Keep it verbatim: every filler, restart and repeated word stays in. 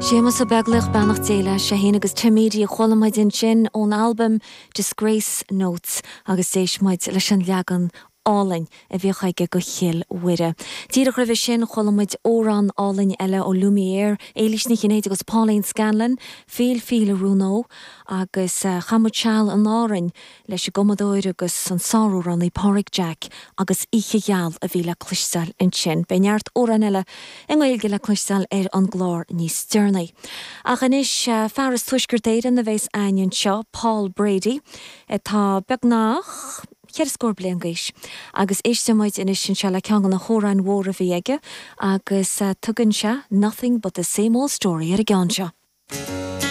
Séamus Ó Beaglaoich beannacht Dé leis sé féin agus Tim Edey a chuala muid ansin ón albam Disgrace Notes agus d'éist muid leis an leagan álainn a bhí aige go Chill Mhuire. Díreach roimhe sin chuala muid amhrán álainn eile ó Lumière, Éilís Ní Chinnéide agus Pauline Scanlon, Fíll Fíll a Rúnó agus uh, chaith muid seal in Árainn leis an gcumadóir agus an sáramhránaí Pádraig Jack agus Oíche Gheal a bhí le cloisteáil ansin. Beidh neart amhrán eile i nGaeilge le cloisteáil ar an gclár níos deireanaí. Ach anois uh, fear as Tuaisceart Éireann a bheas againn anseo Paul Brady atá beagnach ceithre scór bliain d'aois. agus éistfimid anois anseo le ceann de na hamhráin mhóra a bhí aige agus uh, tugann sé nothing but the same old story ar an gceann seo.